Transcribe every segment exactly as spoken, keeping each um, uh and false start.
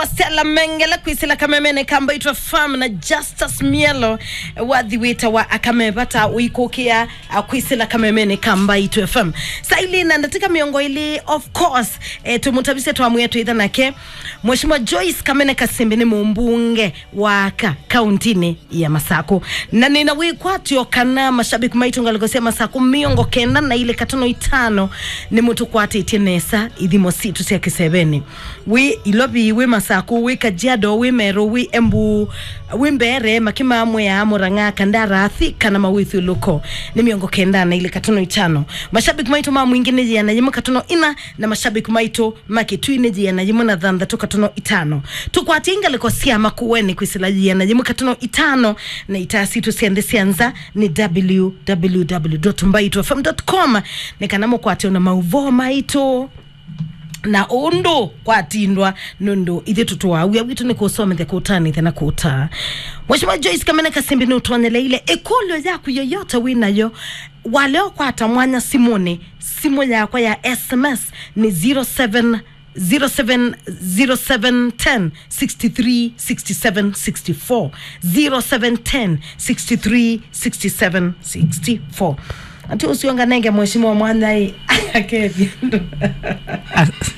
Stella Mengele kwĩsĩla kamemene ka Mbaitũ F M na Justus Mielo, wathi wĩtawa Akamevata ũikũkĩa, a, kwĩsĩla kamemene ka Mbaitũ F M. Saa ilĩ na ndatĩka mĩongo ĩlĩ, of course, eh, tũmũtavisye twamwĩa twĩtha nake. Mheshimiwa Joyce Kamene Kasimbi nĩ mũmbunge wa aka kauntinĩ ya Masakũ. Na nĩna wĩkwatyo kana mashabiki maitũ ngalĩko sya Masakũ mĩongo kenda na ilĩ katono itano nĩmũtũkwatĩtye nesa ithimo sitũ sya kĩsevenĩ. Wĩ Ilovi, wĩ Masakũ, wĩ Kajiado, wĩ Meru, wĩ Embu, wĩ Mbeere, Makima, Mwea, Murang'a, Kandara, Thika na mawĩthyũlũko nĩ mĩongo kenda na ilĩ katono itano. Mashabiki maitũ ma Mwingi nĩ yĩana yĩmwe katono ina, na mashabiki maitũ ma Kitui nĩ yĩana yĩmwe na thanthatũ katono itano. Tũkwatye ngalĩko sya Makueni kwĩsĩla yĩana yĩmwe katono itano, na itaa sitũ sya nthĩ sya nza nĩ w w w dot mbaitũ f m dot com, nĩ kana mũkwate ona maũvoo maitũ na ũndũ kwatindwa, nũndũ ithyĩ tũtũaa wĩa witũ nĩ kũsomethya, kũtanĩthya na kũtaa. Mheshimiwa Joyce Kamene Kasimbi nũtonyeleile ĩkũlyo yaku yoyote wĩ nayo, walea ũkwata mwanya simũnĩ, simũ yakwa ya S M S nĩ zero seven, zero seven, zero seven ten, sixty three, sixty seven, sixty four, zero seven ten, sixty three, sixty seven, sixty four. Ati ũcio nganenge mheshimiwa mwanya ĩ, akethie andũ. As-,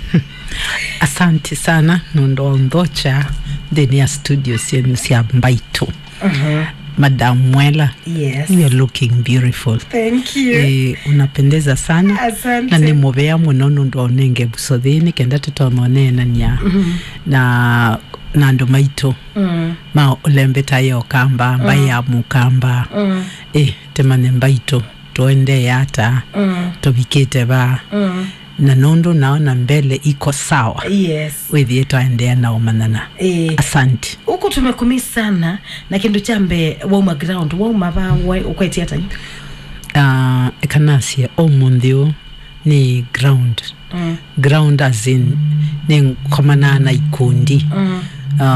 asante sana nũndũ wa ũnthokya nthĩnĩ ya studio syenu sya Mbaitũ. Mhm. Madam Mwela, yes, you are looking beautiful. Thank you. Eh, unapendeza sana. Asante. Na nĩ mũvea mũno nũndũ wa ũnenge mbuso thĩĩ nĩ kenda tũtonye ũneenany'a, mhm, na, na andũ maitũ, mm, ma ũlembeta ya Ũkamba, mbaĩ, mm, ya Mũkamba. Mm. Eh, tũmanye Mbaitũ tũendee ata, mm, tũvikĩte va. Mm. Na nũndũ naona mbele iko sawa, yes, wĩthĩe twaendeea na ũmanyana. Eh. Asante. Huku tumekumi sana, na kĩndũ kya mbee, wauma ground, wauma va, wa-, ũkwetye ata? Ah, eka nasye, ũmũnthĩ ũũ nĩ ground. Mm. Ground as in, nĩ ngomanaa na ikundi. Mm.